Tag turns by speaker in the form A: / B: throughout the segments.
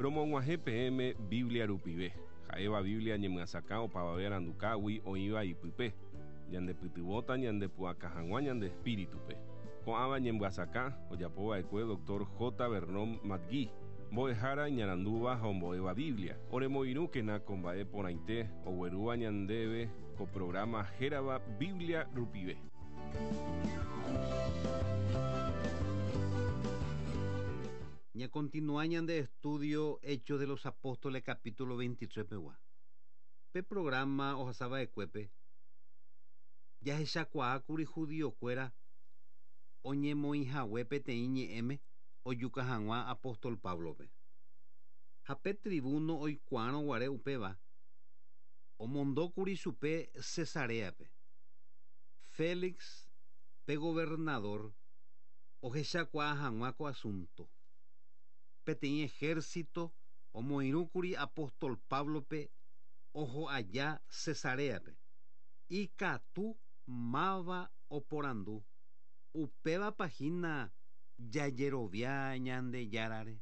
A: Romog̃uahẽ peẽme Biblia rupive, ha'éva Biblia ñemyasakã opavave arandukágui oĩva ipype, ñandepytyvõta ñandepu'aka hag̃ua ñande espíritupe. Ko'ãva ñemyasakã ojapova'ekue Dr. J. Vernon McGee, mbo'ehára iñarandúva ha ombo'éva Biblia. Oremoirũkena ko mba'e porãite oguerúva ñandéve ko programa hérava Biblia rupive.
B: Ñakontinua ñande estudio Hechos de los Apóstoles capítulo 23 pegua. Pe programa ohasava'ekuépe jahechakuaákuri judiokuéra oñemoĩhague peteĩ ñe'ẽme ojuka hag̃ua apóstol Pablope. Ha pe tribuno oikuaárõguare upéva omondókuri chupe Cesareape. Félix, pe gobernador, ohechakuaa hag̃ua ko asunto. Peteĩ ejército omoirũkuri apóstol Pablope oho aja Cesareape. Ikatu máva oporandu upévapa hína jajerovia Ñandejárare.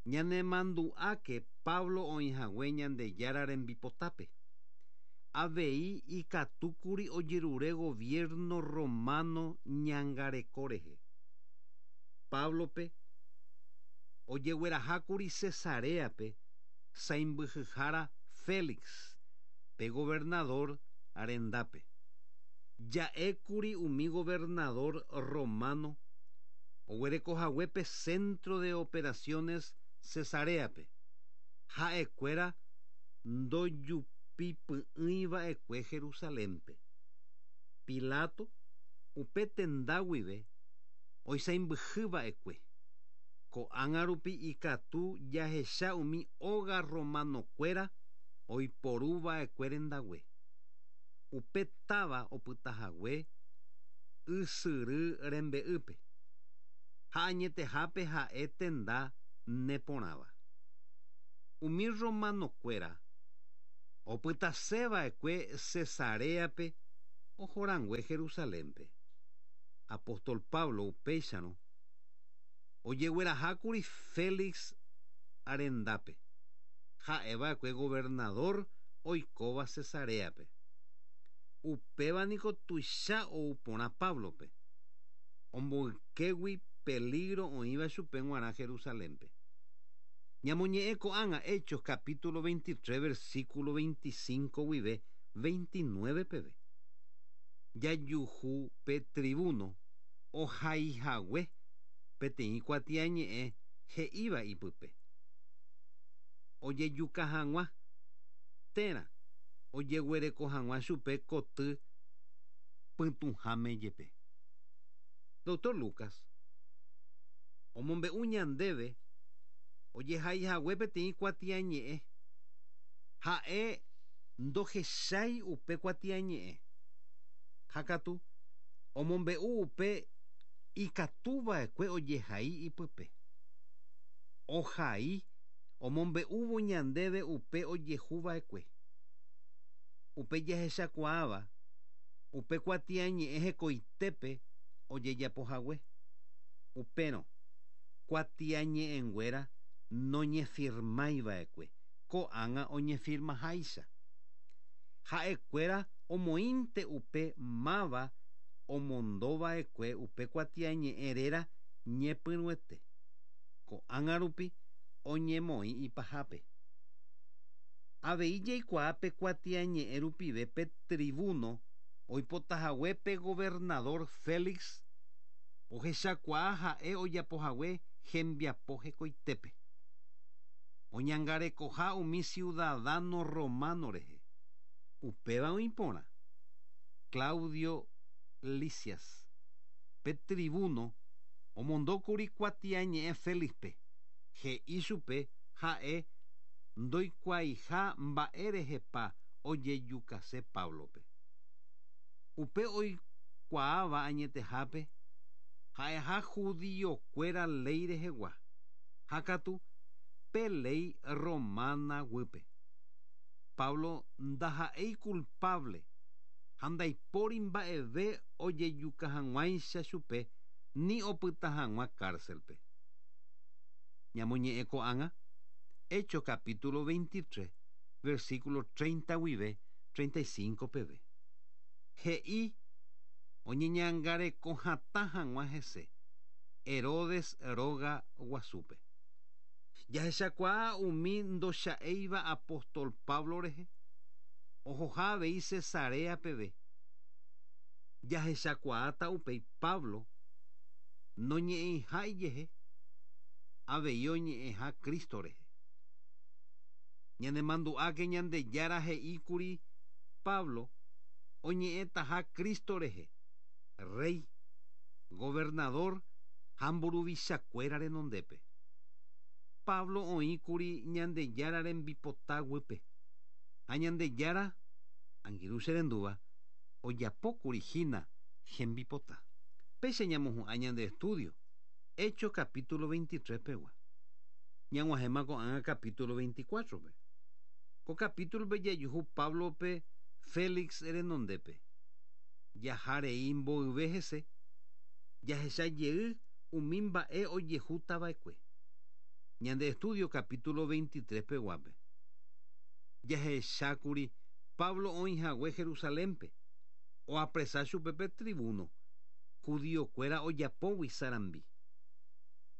B: Ñanemandu'áke Pablo oĩhague Ñandejára rembipotápe. Avei ikatúkuri ojerure gobierno romano ñangareko rehe. Pablope ojeguerahákuri Cesareape sãimbyhyhára Félix, pe gobernador rendápe. Ja'ékuri umi gobernador romano oguerekohague pe centro de operaciones Cesareape. Ha'ekuéra ndojupipy'ỹiva'ekue Jerusalénpe. Pilato upe tenda guive oisãimbyhyva'ekue. Ko'ág̃a rupi ikatu jahecha umi óga romanokuéra oiporuva'ekue rendague. Upe táva opytahague ysyry rembe'ýpe. Ha añetehápe ha'e tenda neporãva. Umi romanokuéra opytaseva'ekue Cesareape ohorangue Jerusalénpe. Apóstol Pablo upéicharõ ojeguerahákuri Félix rendápe. Ha'eva'ekue gobernador oikóva Cesareape. Upéva niko tuicha ou porã Pablope. Omboykégui peligro oĩva chupe g̃uarã Jerusalénpe. Ñamoñe'ẽ ko'ág̃a Hechos capítulo 23 versículo 25 guive 29 peve. Jajuhu pe tribuno ohaihague peteĩ kuatiañe'ẽ he'íva ipype. Ojejuka hag̃ua térã ojeguereko hag̃ua chupe koty pytũháme jepe. Dr. Lucas omombe'u ñandéve ojehaihague peteĩ kuatiañe'ẽ ha'e ndohechái upe kuatiañe'ẽ. Ha katu omombe'u upe ikatuva'ekue ojehai ipype. Ohai omombe'úvo ñandéve upe ojehuva'ekue. Upe jahechakuaáva upe kuatiañe'ẽ hekoitépe ojejapohague. Upérõ kuatiañe'ẽnguéra noñefirmaiva'ekue ko'ág̃a oñefirmaháicha. Ha'ekuéra omoĩnte upe máva omondova'ekue upe kuatiañe'ẽ réra ñepyrũete. Ko'ág̃a rupi oñemoĩ ipahápe. Avei jaikuaa pe kuatiañe'ẽ rupive pe tribuno oipotahague pe gobernador Félix ohechakuaa ha'e ojapohague hembiapo hekoitépe. Oñangarekoha umi ciudadano romano rehe. Upéva oĩporã. Claudio Lisias, pe tribuno omondókuri kuatiañe'ẽ Félixpe he'i chupe ha'e ndoikuaaiha mba'érehepa ojejukase Pablope. Upe oikuaáva añetehápe ha'eha judiokuéra léi rehegua. Ha katu pe léi romana guýpe. Pablo ndaha'éi culpable ha ndaipóri mba'eve ojejuka hag̃uáicha chupe ni opyta hag̃ua cárcelpe. Ñamoñe'ẽ ko'ág̃a Hechos capítulo 23, versículo 30 guive 35 peve. He'i oñeñangareko hatã hag̃ua hese Herodes róga guasúpe. Jahechakuaa umi ndocha'éiva apóstol Pablo rehe ohoha avei Cesarea peve. Jahechakuaáta upéi Pablo noñe'ẽiha ijehe, avei oñe'ẽha Cristo rehe. Ñanemandu'áke Ñandejára he'íkuri Pablo oñe'ẽtaha Cristo rehe, rey, gobernador ha mburuvichakuéra renondépe. Pablo oĩkuri Ñandejára rembipota guýpe ha Ñandejára angirũ cherendúva ojapókuri hína hembipota. Péicha ñamohu'ã ñande estudio, Hechos capítulo 23 pegua. Ñag̃uahẽma ko'ág̃a capítulo 24-pe. Ko capítulo-pe jajuhu Pablo-pe Félix renondépe. Jaha rei mboyve hese, jahecha jey umi mba'e ojehútava'ekue. Ñande estudio capítulo 23 peguápe. Jahechákuri Pablo oĩhague Jerusalénpe, oapresa chupe pe tribuno, judiokuéra ojapógui sarambi.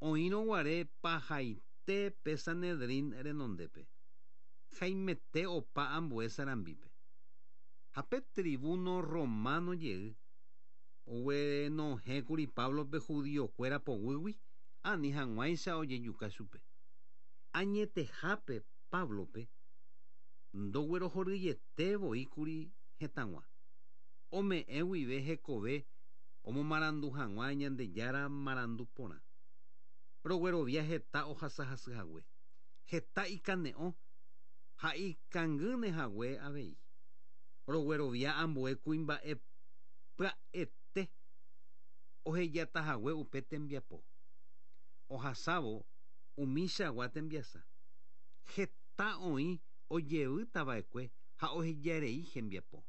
B: Oĩrõguare pahaite pe Sanedrín renondépe, haimete opa ambue sarambípe. Ha pe tribuno romano jey oguenohẽkuri Páblope judiokuéra poguýgui ani hag̃uáicha ojejuka chupe. Añetehápe Páblope ndoguerohoryiete voíkuri hetãgua, ome'ẽ guive hekove omomarandu hag̃ua Ñandejára marandu porã. Roguerovia heta ohasahasyhague, heta ikane'õ ha ikangýnehague avei. Roguerovia ambue kuimba'e pya'ete ohejatahague upe tembiapo. Ohasávo umichagua tembiasa, heta oĩ ojevýtava'ekue ha ohejarei hembiapo.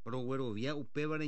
B: Roguerovia upévare.